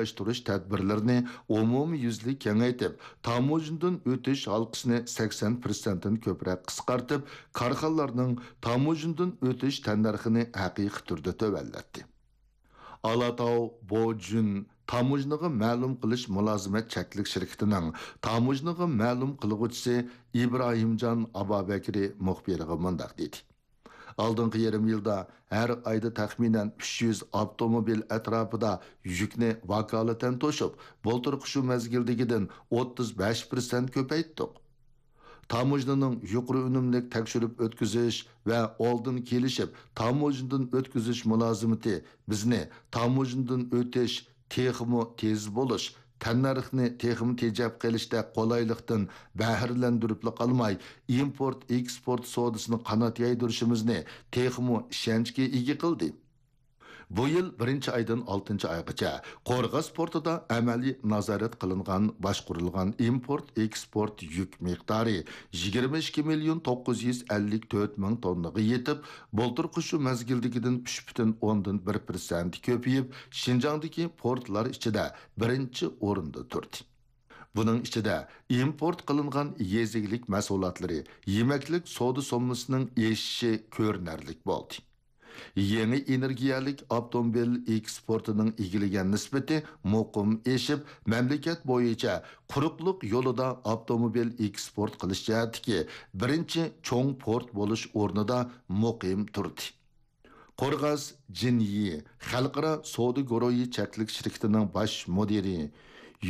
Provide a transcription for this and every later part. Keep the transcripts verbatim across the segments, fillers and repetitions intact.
ئورۇنلاشتۇرۇش تەدبىرلىرىنى ئومۇميۈزلۈك كېڭەيتىپ، تاموژنىدىن ئۆتۈش ھالقىسىنى سەكسەن پىرسەنتتىن كۆپرەك قىسقارتىپ، كارخانىلارنىڭ تاموژنىدىن ئۆتۈش تەننەرخىنى ھەقىقىي تۈردە تۆۋەنلەتتى. ئالاتاۋ بوجۈن تاموژنىغا مەلۇم قىلىش مۇلازىمەت چەكلىك شىركىتىنىڭ تاموژنىغا مەلۇم قىلغۇچىسى ئىبراھىمجان ئابابەكرى مۇخبىرغا مۇنداق دېدى: ئالدىنقى يېرىم يىلدا ھەر ئايدا تەخمىنەن ئۈچ يۈز ئاپتوموبىل ئەتراپىدا يۈكنى ۋاكالىتەن توشۇپ، بۇلتۇرقى شۇ مەزگىلدىكىدىن ئوتتۇز بەش پىرسەنت كۆپەيتتۇق. تاموژنىنىڭ يۇقىرى ئۈنۈملۈك تەكشۈرۈپ ئۆتكۈزۈش ۋە ئالدىن كېلىشىپ تاموژنىدىن ئۆتكۈزۈش مۇلازىمىتى بىزنى تاموژنىدىن ئۆتۈش تېخىمۇ تېز بولۇش، تەننەرخنى تېخىمۇ تېجەپ قېلىشتەك قولايلىقتىن بەھرىلەندۈرۈپلا قالماي، ئىمپورت ئېكسپورت سودىسىنى قانات يايدۇرۇشىمىزنى تېخىمۇ ئىشەنچكە ئىگە قىلدى. بۇ يىل بىرىنچى ئايدىن ئالتىنچى ئايغىچە قورغاس پورتىدا ئەمەلىي نازارەت قىلىنغان باشقۇرۇلغان ئىمپورت ئېكسپورت يۈك مىقدارى يىگىرمە ئىككى مىليون توققۇز يۈز ئەللىك تۆت مىڭ توننىغا يېتىپ، بۇلتۇرقى شۇ مەزگىلدىكىدىن ئۈچ پۈتۈن ئوندىن بىر پىرسەنت كۆپىيىپ، شىنجاڭدىكى پورتلار ئىچىدە بىرىنچى ئورۇندا تۇردى. بۇنىڭ ئىچىدە ئىمپورت قىلىنغان يېزا ئىگىلىك مەھسۇلاتلىرى، يېمەكلىك سودا سوممىسىنىڭ ئېشىشى كۆرۈنەرلىك بولدى. يېڭى ئېنېرگىيەلىك ئاپتوموبىل ئېكسپورتىنىڭ ئىگىلىگەن نىسبىتى مۇقىم ئېشىپ، مەملىكەت بويىچە قۇرۇقلۇق يولىدا ئاپتوموبىل ئېكسپورت قىلىش جەھەتتىكى بىرىنچى چوڭ پورت بولۇش ئورنىدا مۇقىم تۇردى. قورغاس جىنيى خەلقئارا سودا گۇرۇھى چەكلىك شىركىتىنىڭ باش مۇدىرى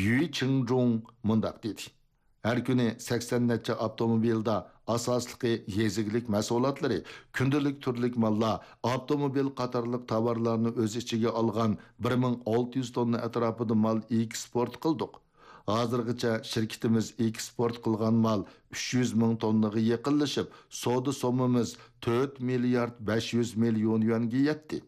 يۈي چىڭجۇڭ مۇنداق دېدى: ھەر كۈنى سەكسەن نەچچە ئاپتوموبىلدا، ئاساسلىقى يېزا ئىگىلىك مەھسۇلاتلىرى، كۈندىلىك تۈرلۈك ماللار، ئاپتوموبىل قاتارلىق تاۋارلارنى ئۆز ئىچىگە ئالغان بىر مىڭ ئالتە يۈز توننا ئەتراپىدا مال ئېكسپورت قىلدۇق. ھازىرغىچە شىركىتىمىز ئېكسپورت قىلغان مال ئۈچ يۈز مىڭ توننىغا يېقىنلىشىپ، سودا سوممىمىز تۆت مىليارد بەش يۈز مىليون يۈەنگە يەتتى.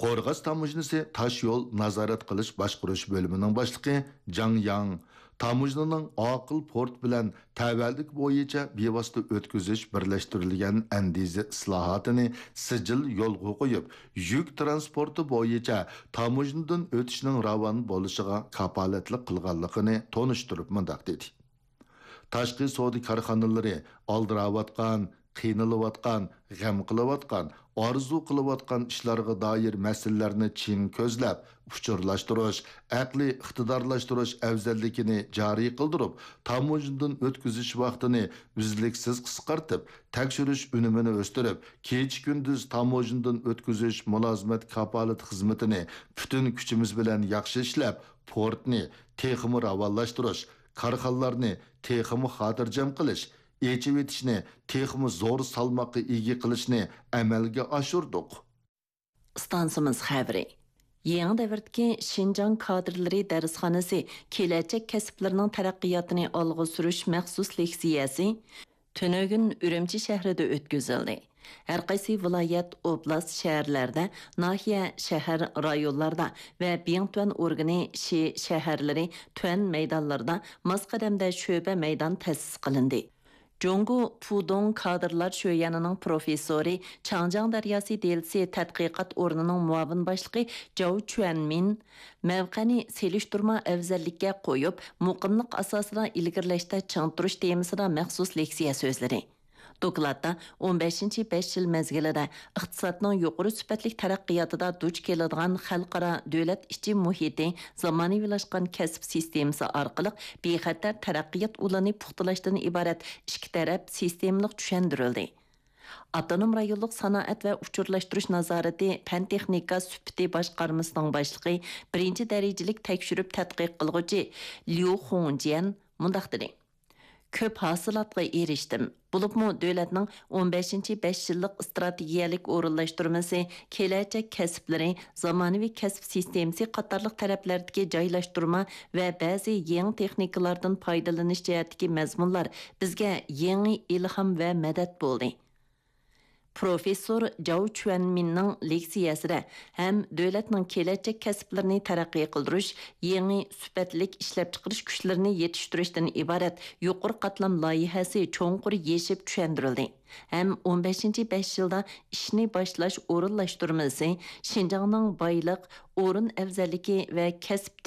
قورغاس تاموژنىسى تاشيول نازارەت قىلىش باشقۇرۇش بۆلۈمىنىڭ باشلىقى جاڭ ياڭ تاموژنىنىڭ ئاقىل پورت بىلەن تەۋەلىك بويىچە بىۋاسىتە ئۆتكۈزۈش بىرلەشتۈرۈلگەن ئەندىزە ئىسلاھاتىنى سىجىل يولغا قويۇپ، يۈك تىرانسپورتى بويىچە تاموژنىدىن ئۆتۈشنىڭ راۋان بولۇشىغا كاپالەتلىك قىلغانلىقىنى تونۇشتۇرۇپ مۇنداق دېدى: تاشقى سودا كارخانىلىرى ئالدىراۋاتقان، قىينىلىۋاتقان، غەم قىلىۋاتقان، ئارزۇ قىلىۋاتقان ئىشلارغا دائىر مەسىلىلەرنى چىڭ كۆزلەپ، ئۇچۇرلاشتۇرۇش، ئەقلىي ئىقتىدارلاشتۇرۇش ئەۋزەللىكىنى جارى قىلدۇرۇپ، تاموژنىدىن ئۆتكۈزۈش ۋاقتىنى ئۈزلۈكسىز قىسقارتىپ، تەكشۈرۈش ئۈنۈمىنى ئۆستۈرۈپ، كېچە-كۈندۈز تاموژنىدىن ئۆتكۈزۈش مۇلازىمەت كاپالىتى خىزمىتىنى پۈتۈن كۈچىمىز بىلەن ياخشى ئىشلەپ، پورتنى تېخىمۇ راۋانلاشتۇرۇش، كارخانىلارنى تېخىمۇ خاتىرجەم قىلىش، ئېچىۋېتىشنى تېخىمۇ زور سالماققا ئىگە قىلىشنى ئەمەلگە ئاشۇردۇق. ئىستانسىمىز خەۋىرى. يېڭى دەۋردىكى شىنجاڭ كادىرلىرى دەرسخانىسى كېلەچەك كەسىپلىرىنىڭ تەرەققىياتىنى ئالغا سۈرۈش مەخسۇس لېكسىيەسى تۈنۈگۈن ئۈرۈمچى شەھىرىدە ئۆتكۈزۈلدى. ھەر قايسى ۋىلايەت، ئوبلاست، شەھەرلەردە، ناھىيە، شەھەر، رايونلاردا ۋە بىڭتۈەن ئورگىنى شى شەھەرلىرى تۈەن مەيدانلىرىدا ماس قەدەمدە شۆبە مەيدان تەسىس قىلىندى. جۇڭگو پۇدۇڭ كادىرلار شۆيۈەنىنىڭ پروفېسسورى، چاڭجياڭ دەرياسى دېلىسى تەتقىقات ئورنىنىڭ مۇئاۋىن باشلىقى جاۋ چۈەنمىن مەۋقەنى سېلىشتۇرما ئەۋزەللىككە قويۇپ، مۇقىملىق ئاساسىدا ئىلگىرىلەشتە چىڭ تۇرۇش تېمىسىدا مەخسۇس لېكسىيە سۆزلىدى. دوكلاتتا ئون بەشىنچى بەش يىل مەزگىلىدە ئىقتىسادنىڭ يۇقىرى سۈپەتلىك تەرەققىياتىدا دۇچ كېلىدىغان خەلقئارا، دۆلەت ئىچى مۇھىتى، زامانىۋىلاشقان كەسىپ سىستېمىسى ئارقىلىق بىخەتەر تەرەققىيات ئۇلىنى پۇختىلاشتىن ئىبارەت ئىككى تەرەپ سىستېمىلىق چۈشەندۈرۈلدى. ئاپتونوم رايونلۇق سانائەت ۋە ئۇچۇرلاشتۇرۇش نازارىتى پەن-تېخنىكا سۈپىتى باشقارمىسىنىڭ باشلىقى، بىرىنچى دەرىجىلىك تەكشۈرۈپ تەتقىق قىلغۇچى ليۇ خۇڭجيەن مۇنداق دېدى: كۆپ ھاسىلاتقا ئېرىشتىم. بولۇپمۇ دۆلەتنىڭ ئون بەشىنچى بەش يىللىق ئىستراتېگىيەلىك ئورۇنلاشتۇرمىسى، كېلەچەك كەسىپلىرى، زامانىۋى كەسىپ سىستېمىسى قاتارلىق تەرەپلەردىكى جايلاشتۇرما ۋە بەزى يېڭى تېخنىكىلاردىن پايدىلىنىش جەھەتتىكى مەزمۇنلار بىزگە يېڭى ئىلھام ۋە مەدەت بولدى. پروفېسسور جاۋ چۈەنمىننىڭ لېكسىيەسىدە ھەم دۆلەتنىڭ كېلەچەك كەسىپلىرىنى تەرەققىي قىلدۇرۇش، يېڭى سۈپەتلىك ئىشلەپچىقىرىش كۈچلىرىنى يېتىشتۈرۈشتىن ئىبارەت يۇقىرى قاتلام لايىھەسى چوڭقۇر يېشىپ چۈشەندۈرۈلدى ھەم ئون بەشىنچى بەش يىلدا ئىشنى باشلاش ئورۇنلاشتۇرمىسى شىنجاڭنىڭ بايلىق، ئورۇن ئەۋزەللىكى ۋە كەسىپ